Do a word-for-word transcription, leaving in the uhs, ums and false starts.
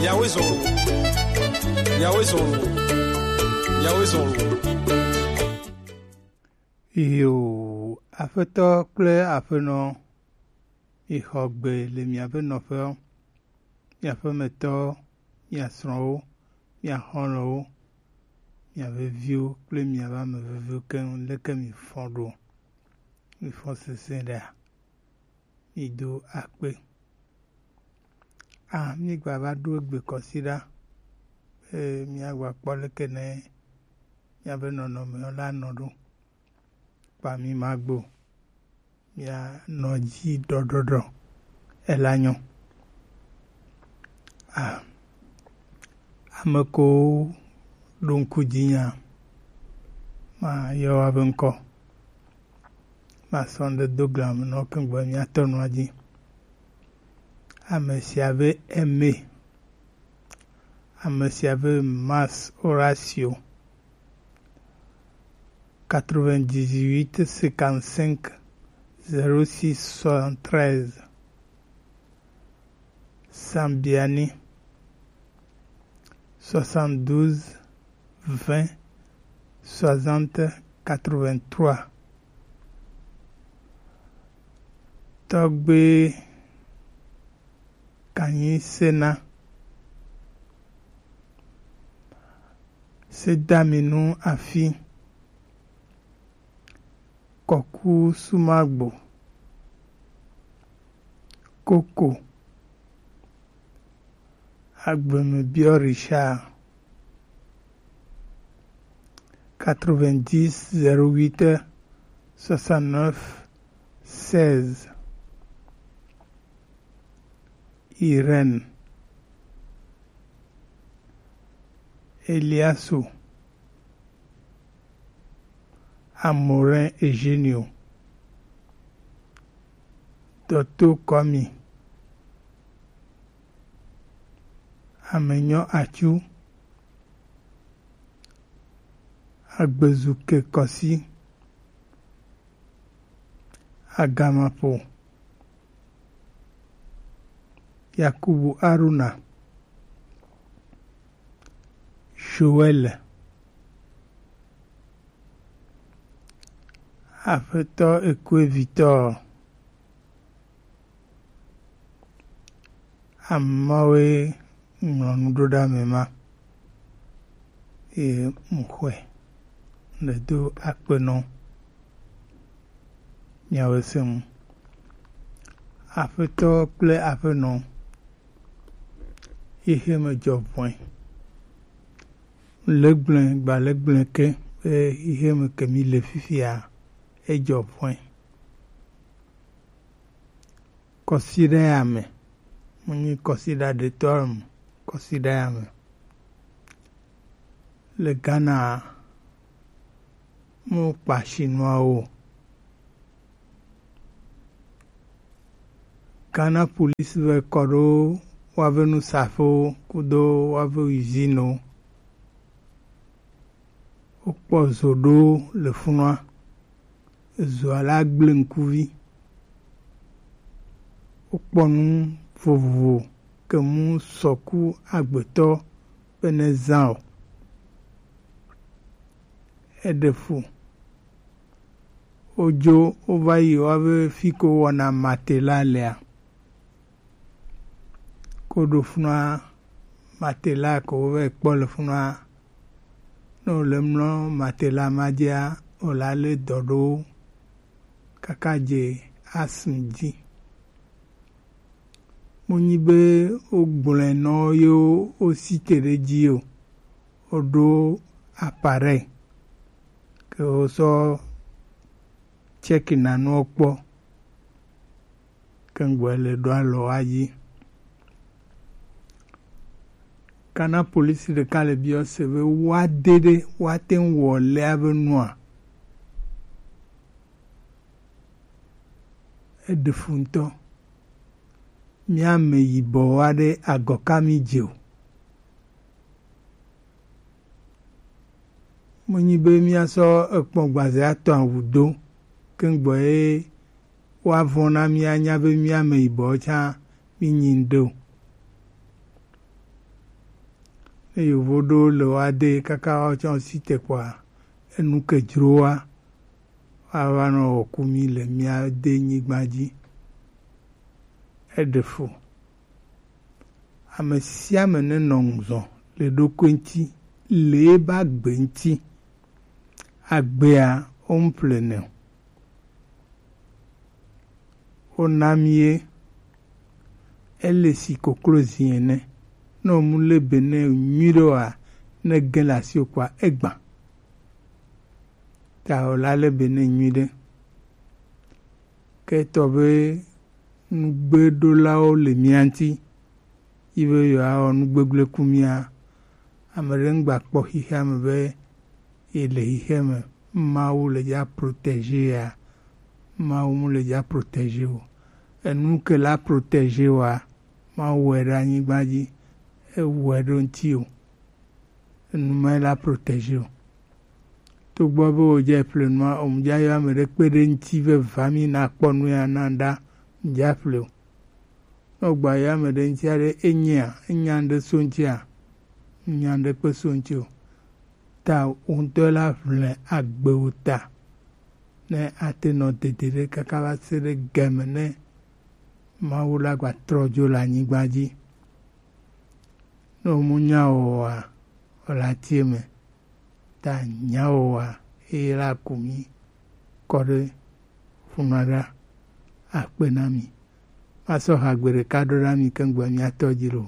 Yahweh zɔn lo. Yahweh zɔn lo. Yahweh zɔn lo. Iyo, Aƒetɔ kple Aƒenɔ, mixɔ gbe le miaƒe nɔƒewo, miaƒe metɔwo, mia srɔ̃wo, mia xɔlɔ̃wo, mia veviwo kple miaƒe ame veviwo keŋ. Leke mifɔ ɖo? Mifɔ sesẽ ɖea? Mido akpe. A, mígba va ɖo egbe kɔsiɖa be míagba kpɔ leke ne míaƒe nɔnɔmewo la nɔ ɖo. Kpa mi magbo. Mianɔ dzi ɖɔɖɔɖɔ. Ela nyɔ. A, ame ko ɖo ŋku dzinya, mayɔ woaƒe ŋkɔ. Masɔ ŋɖe do gla me nɔ ke gbɔ míatɔ nua dzi. Ame sia be Aimé. Ame sia be Mas Horacio. Quatre-vingt-dix-huit cinquante-cinq zéro six soixante-treize. Sambiani, soixante-douze vingt soixante quatre-vingt-trois. Tɔgbe Kanyi Sena, Sedaminu Afi, Kɔku Sumagbo, Koko, Agbemebio Richard, quatre-vingt-dix zéro huit soixante-neuf seize. Irène, Eliasu, Amorin Eugenio, Dɔto Kɔmi, Amenyɔ Atsu, Agbezuke Kɔsi, Agamapo, Yakubu Aruna, Joël, Aƒetɔ Ekue Victor, Amewo ŋlɔ nu ɖo ɖe ame ma, eye mu xɔe le do akpe nɔ miawo se ŋu. Aƒetɔ kple aƒenɔ, xexe me dzɔ vɔe. Le gblẽ gba le gblẽ ke be xexe me ke mi le fifia, edzɔ vɔe. Kɔsiɖa ya me. Mu nyi kɔsiɖa ɖetɔ mu, kɔsiɖa ya me. Le Ghana, mu kpa Chinois o. Ghana police vɛ kɔ ɖo woaƒe nusaƒewo kudo woaƒe usine wo. Wokpɔ zo ɖo le funua. Ezoa la gblẽ ŋkuvi. Wokpɔ nu vovovo ke mu sɔku agbetɔ be ne zã o. Eɖe fu. Wodzo wova yi woabe fi ko wɔna matela lea. Ko ɖo funua matela ko wova kpɔ le funua. Ne wòle mlɔ matela ma dzia, wòla lé dɔ ɖo kaka dze asm dzi. Mu nyi be wogblɔe nɔ ye wosi te ɖe dzi o. Woɖo appareil ke wosɔ check nanewo kpɔ. Ke ŋgbɔe le ɖo alɔ wa dzi. Kana polisi ɖeka le biɔ se be woa de ɖe woate ŋu wɔ lea be nua. Eɖe fu ŋutɔ. Mía ame yibɔ aɖe agɔ ka mí dze o. Menyi be míasɔ ekpɔ gbaze atɔ awu do keŋgbɔ ye woavɔ̃ na mía nya be mía ame yibɔ tsã mí nyi ŋɖe o. Ne yovo ɖo le wa de kaka wa tsɔ si te kpɔa, enu ke dzro wa, wa va nɔ wɔ ku mi le mia de nyigba dzi. Eɖe fu. Ame sia ame ne nɔ ŋuzɔ le ɖokui ŋuti, le ebe agbe ŋuti. Agbea wo ŋu ƒle nɛ o. Wona mi ye. Ele si koklozi ene. Ne wòmu le be ne nyui ɖe oa, ne ge le asiwò kpɔa, egbã. Ta wòla le be ne nyui ɖe. Ke etɔ be nugbeɖolawo le mia ŋuti, yi be yewoawɔ nu gbegblẽ ku mia. Ame ɖe ŋgba kpɔ xexea me be yele xexea me, Mawu le dza protégé ya, Mawu mu le dza protégé o. Enu ke la protégé wa, Mawu wɔe ɖe anyigba dzi, ewɔe ɖo ŋuti o. Enu ma la protégé o. Togbɔ be wòdze ƒle nua, omdza yɔ ame ɖe kpe ɖe ŋuti veva mi nakpɔ nu ya na ɖa, mdza ƒle o. Ne wògba yɔ ame ɖe ŋuti aɖe, enyea, enya ŋɖe so ŋutia, enya ŋɖe kpe so ŋuti o. Ta wò ŋutɔ la ʋlɛ agbe wò ta, ne ate nɔ dede ɖe kaka va se ɖe game ne Mawu la gba trɔ dzo le anyigba dzi. Ne wòmu nya o oa, wòle atie me. Ta nya o oa, eye la ku mi kɔ ɖe funua ɖa akpe na mi. Masɔ ha gbe ɖeka ɖo na mi keŋ gbe miatɔ dzi lo.